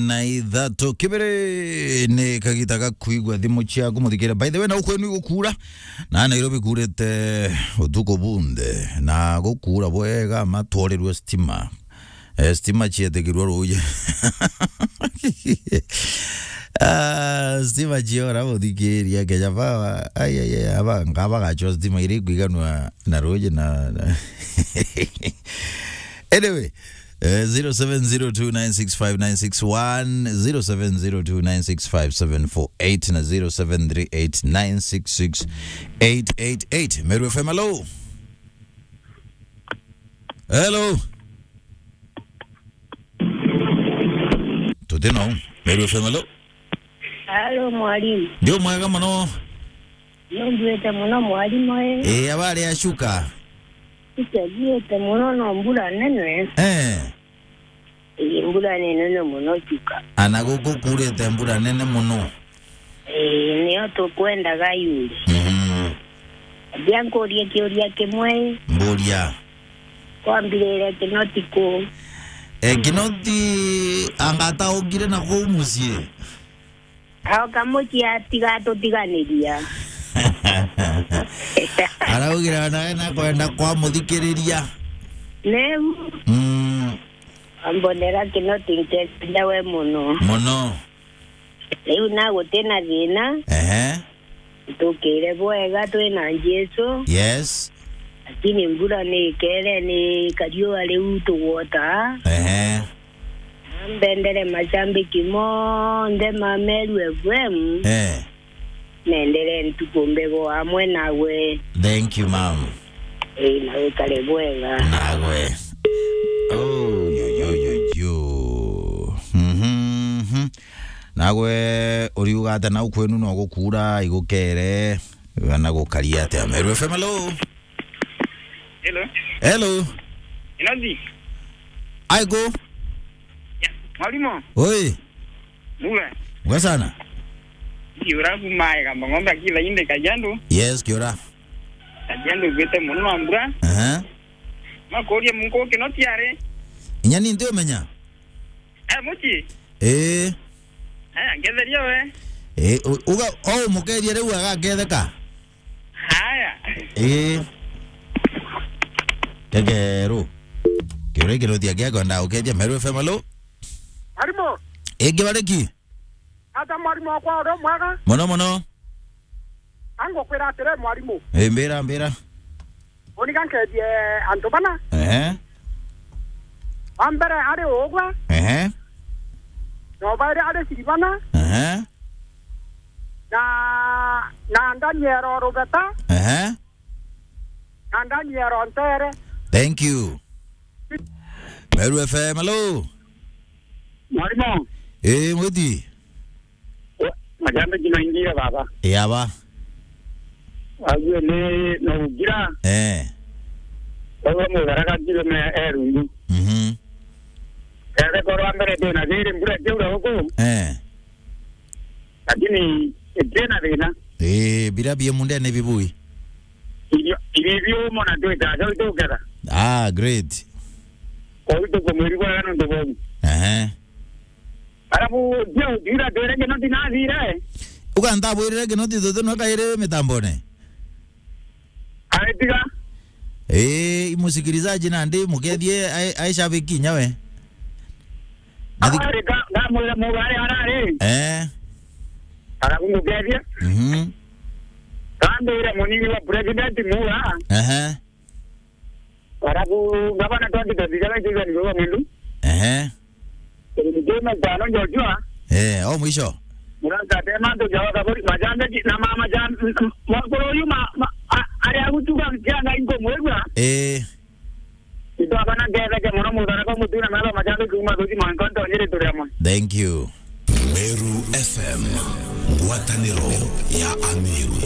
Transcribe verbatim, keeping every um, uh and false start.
na ithatu. Kibiri ni kagita ga kuigua thimu ciaku, muthikire. By the way, na ukwenu igukura, na Nairobi kurite utuku bunthe, na gukura bwega, matworirwe stima. Eh, stima cietikirwe ruuji. Ah, stima ciora, muthikiria, Kenya Power. Ai, ai, ai, aba, ngaba gachwa stima iri kwiganwa na ruuji na, na anyway, eh, zero seven zero two nine six five nine six one, zero seven zero two nine six five seven four eight na zero seven three eight nine six six eight eight eight. Meru F M, hello. Hello. Tuti no. Meru F M, hello. Halo, mwalimu. Ndio mwega muno. Nonduite muno, mwalimu, eh. Eh, abari acuka. Itagiite muno, no mbura nene. Eh. Ii, mbura ni nene muno cuka. Ana guku kurite mbura nene muno. Ii, nio tukwendaga yuri. Mhm. Ambia nkurie kiuria kimwe. Mburia. Kwambirire Kinoti ku? E, Kinoti anga ataukire na kuu mucii? Aoka mucii atiga atutiganiria. Araugire nawe nakwenda kwamuthikiriria. Neu. Mm. Ambonera Kinoti, nketeria we muno. Muno. Riu na guti na thina. Ehe. Tukire bwega twina Jesu. Yes. Lakini mbura ni ikere ni kariua riu tugwota. Ehe. Mbendere macambiki monthe ma Meru F M. Eh. Nendere ntuku mbego amwe nawe. Thank you, ma'am. Ii, na wikare bwega. Nawe. Oh, yo, yo, yo, yo. Mhm, mhm. Nawe uriuga atia nau kwenu, no gukura igukere, kana gukari atia? Meru F M, hello. Hello. Hello. Inoti. Aiko. Ya, mwalimu. Oi. Muga. Muga sana. Kiura kuma ega ng'ombe akila inde Kajiado. Yes, kiura. Kajiado gwite muno na mbura. Aha. Makuria mungu Kinoti ari. Inya ni ndio menya. Eh, mucii? Eh. Eh, ngetheria we. Eh, u-, uga, o mukeria riu agaketheka? Haya. Eh. Kekeru. Kiuria Kinoti agia kwenda ukethia Meru F M, hello? Mwalimu. Ingi bariki? Ata mwalimu wakwa uri mwega? Muno muno. Angukwira atiri mwalimu. Eh, mbira, mbira. Uni ga nkethie antu bana. Ehe. Wa mbere ari ugwe. Ehe. Na wa bairi ari Siribana. Ehe. Na, na Daniel o Rubeta. Ehe. Na Daniel o Ntere. Thank you. Meru F M, hello. Mwalimu. Eh, mwiti. Majambe jina ingia baba. Eh, aba. Aguo ni no ugira. Eh. Baba mutharaga kilo me erundu. Mhm. Ere korwa mbere ndina thiri mbura kiura guku. Eh. Lakini ndina thina. Eh, bira bie mundene bibui. Irio, irio biumo na twita, so tuketha. Ah, great. Kwa hiyo tuko mwiri bwa nundu bobu. Ehe. Arabu, ndio, ndio, ndio, ndio, ndio, ndio, ndio. Uga ntabwirire Kinoti tutu no kairi mitambone. Aretiga. Eh, imusikilizaji na ndi mukethie ai, ai shabiki nyawe. Nathi- Ari ka, ngamwira muga ari arari. Eh. Arabu mukethie. Mhm. Kambira munini wa president muga. Ehe. Arabu ngabana twenty twenty-seven season ni baba mwindu. Ehe. Ndima tano Joshua. Eh, o mwisho. Muranka tema ndo jawa kabori majambe ki-, na mama jam-, m-, m-, mwakoro uyu ma-, ma-, a-, ari agutuka kianga inko mwegwa. Eh. Ito abana ngetheke muno muthara kwa mutuna maba majambe kuma thuji mwankonto nyiri turi amwe. Thank you. Meru F M, ngwataniro ya Ameru.